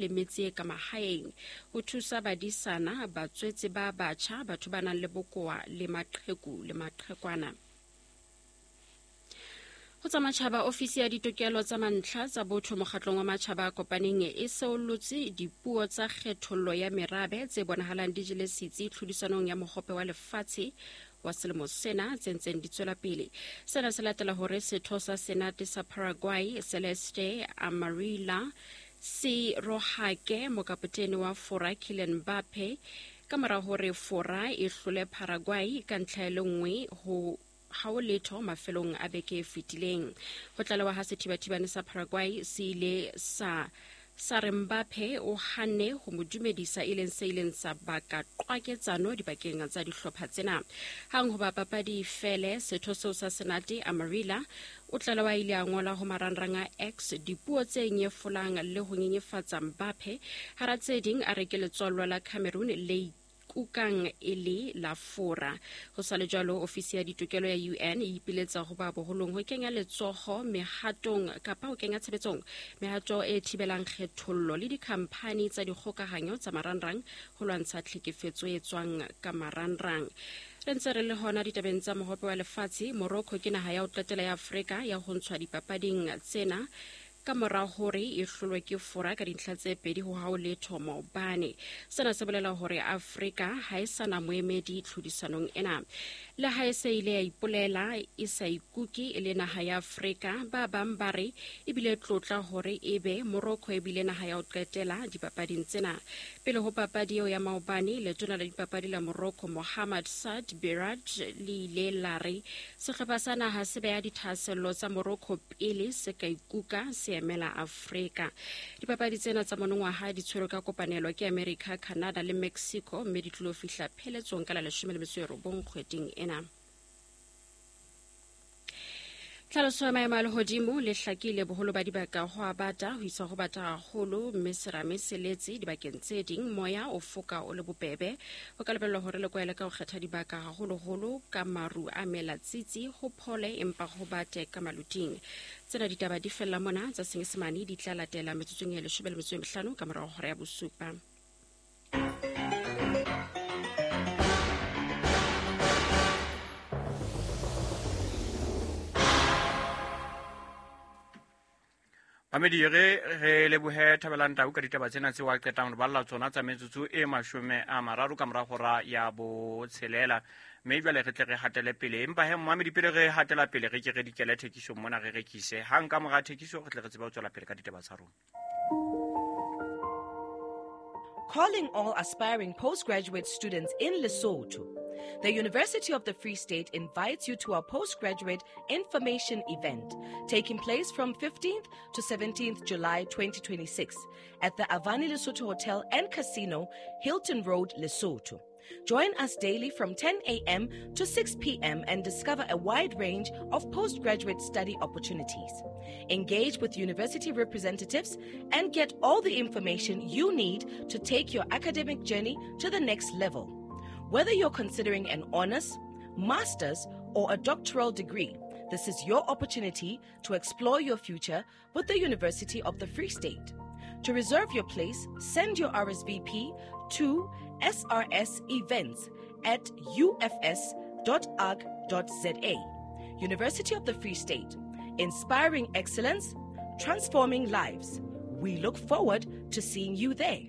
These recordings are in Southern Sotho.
Le metse e ka mahaeng ho thusa badisana, batswetse ba batjha, batho ba nang le bokowa le maqheku le maqhekwana. Ho tsa matjhaba, ofisi ya ditokelo tsa mantlha tsa botho mokgatlong wa matjhaba a kopaneng e seollotse dipuo tsa kgethollo ya merabe tse bonahalang di jele setsi tlhodisanong ya mohope wa lefatshe wa selemo sena tse ntseng di tswela pele. Sena se latela hore setho sa Senate sa Paraguay Celeste Amarilla se rohake mokapotene wa Fora Kylian Mbappe ka mora hore Fora e hlole Paraguay ka ntlha e le nngwe ho ha ho letho mafelong a beke e fetileng. Ho tlalewa ha sethibathibane sa Paraguay se ile sa sa re Mbappe o hanne ho mo dumedisa e leng se ileng sa baka qwaketsano dibakeng tsa dihlopha tsena. Hang hoba papadi e fele, setho seo sa Senate Amarilla o tlalewa a ile a ngola ho marangrang a X dipuo tse nyefolang le ho nyenyefatsa Mbappe, hara tse ding a re ke letswallwa la Cameroon le kukang e le la Fora. Ho sa le jwalo, ofisi ya ditokelo ya UN e ipiletsa ho ba boholong ho kenya letsoho mehatong kapa ho kenya tshebetsong mehato e thibelang kgethollo le dikhamphani tsa dikgokahanyo tsa marangrang ho lwantsha tlhekefetso e tswang ka marangrang. Re ntse re le hona ditabeng tsa mohope wa lefatshe, Morocco ke naha ya ho qetela ya Afrika ya ho ntshwa dipapading tsena ka mora hore e hlolwe ke Fora ka dintlha tse pedi ho hao letho maobane. Sena se bolela hore Afrika ha e sa na moemedi tlhodisanong ena. Le ha e se ile ya ipolela e sa ikuke e le naha ya Afrika, ba bang ba re e bile tlotla hore ebe Morocco e bile naha ya ho qetela dipapading tsena. Pele ho papadi eo ya maobane, letona la dipapadi la Morocco Mohammad Saad Berrad le ile la re Sehlopha sa naha se beha dithahasello tsa Morocco pele se ka ikuka se emela Afrika. Dipapadi tsena tsa monongwaha di tshwerwe ka kopanelo ke America, Canada le Mexico mme di tlilo fihla pheletsong ka la 19 kgweding ena. Tlhaloso ya maemo a lehodimo le hlakile boholo ba dibaka ho a bata ho isa ho bata haholo mme serame se letse dibakeng tse ding moya o foka o le bobebe. Ho ka lebellwa hore le kwaele ka ho kgetha dibaka haholoholo ka maru a mela tsitsi ho phole empa ho bate ka maluting. Tsena ditaba di fella mona tsa Senyesemane di tla latela metsotsong e 15 ka morago hora ya bosupa. Mamedi re re lebohe Thabelang Tau ka ditaba tsena tseo a qetang re balla tsona tsa metsotso e 30 ka mora hora ya botshelela. Mme jwale re tle re hatele pele, empa he mmamedi pele re hatela pele re ke re dikele thekisong mona re rekise. Hang ka mora thekiso re tle re tsebe ho tswela pele ka ditaba tsa rona. Calling all aspiring postgraduate students in Lesotho. The University of the Free State invites you to our postgraduate information event taking place from 15th to 17th July 2026 at the Avani Lesotho Hotel and Casino, Hilton Road, Lesotho. Join us daily from 10 a.m. to 6 p.m. and discover a wide range of postgraduate study opportunities. Engage with university representatives and get all the information you need to take your academic journey to the next level. Whether you're considering an honors, master's, or a doctoral degree, this is your opportunity to explore your future with the University of the Free State. To reserve your place, send your RSVP to srsevents@ufs.org.za. University of the Free State, inspiring excellence, transforming lives. We look forward to seeing you there.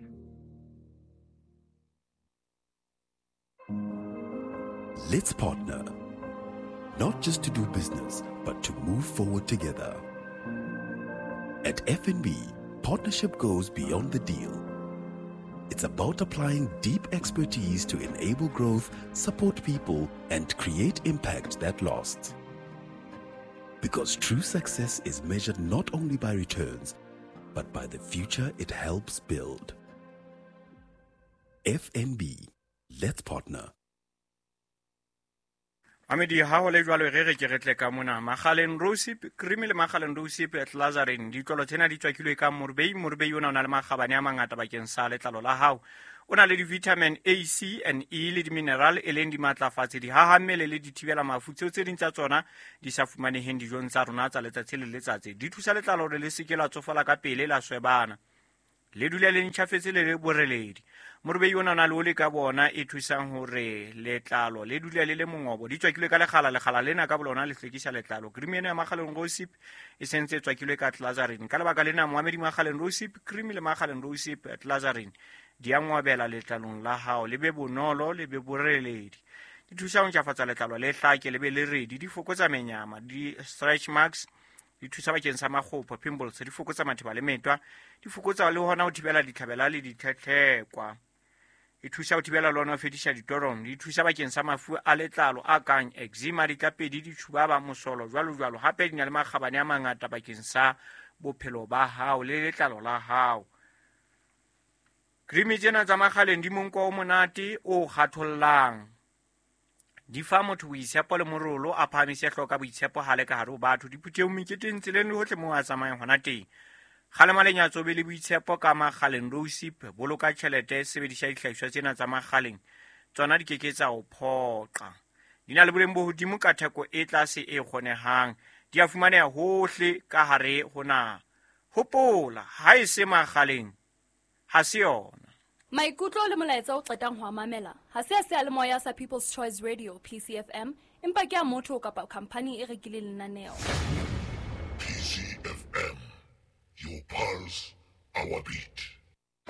Let's partner, not just to do business, but to move forward together. At FNB, partnership goes beyond the deal. It's about applying deep expertise to enable growth, support people, and create impact that lasts. Because true success is measured not only by returns, but by the future it helps build. FNB, let's partner. Mamedi ha ho le jwalo re re ke re tle ka mona Magaleng Rosip cream le Magaleng Rosip Glazarin ditlolo tsena di tswakilwe ka morbei. Morbei ona o na le makgabane a mangata bakeng sa letlalo la hao. O na le di-vitamin A, C and E le di-mineral e leng dimatlafatsi, dihahammele le dithibela mafu tseo tse ding tsa tsona di sa fumaneheng dijong tsa rona tsa letsatsi le letsatsi. Di thusa letlalo hore le se ke la tsofala ka pele la swebana. Le dule le ntjhafetse le le boreledi. Morubei ona o na le oli ka bona e thusang hore letlalo le dule le le mongobo. Di tswakilwe ka lekgala, lekgala lena ka bolona le hlwekisa letlalo. Cream ena ya Makgaleng Rosip e sentse e tswakilwe ka Glazarin. Ka lebaka lena moamedi Makgaleng Rosip cream le Makgaleng Rosip Glazarin di a ngwabela letlalong la hao, le be bonolo, le be boreledi. Di thusa ho ntjhafatsa letlalo le hlake, le be le redi, di fokotsa menyama, di stretch marks, di thusa bakeng sa makgopho, pimples, di fokotsa matheba le metwa, di fokotsa le hona ho thibela ditlhabela le ditlhetlhekwa. E thusa ho thibela le hona ho fedisa ditorong, di thusa bakeng sa mafu a letlalo a kang eczema, ditlapedi, ditjhubaba, mosolo, jwalo jwalo. Hape di na le makgabane a mangata bakeng sa bophelo ba hao le letlalo la hao. Cream tsena tsa Makgaleng di monko o monate o kgathollang. Di fa motho boitshepo le morolo, a phahamise hlooho ka boitshepo ha le ka hare ho batho, diphuthehong, meketeng, tseleng le hohle moo a tsamayang hona teng. Kgalema lenyatso, be le boitshepo ka Makgaleng Rosip, boloka tjhelete, sebedisa dihlahiswa tsena tsa Makgaleng, tsona di keke tsa o phoqa. Di na le boleng bo hodimo ka theko e tlase e kgonehang. Di a fumaneha hohle ka hare ho naha. Hopola, ha e se Makgaleng, ha se yona. Maikutlo le molaetsa o qetang ho a mamela ha se a seyalemoya sa People's Choice Radio PCFM, empa ke a motho kapa khamphani e rekileng lenaneo. PCFM, your pulse, our beat.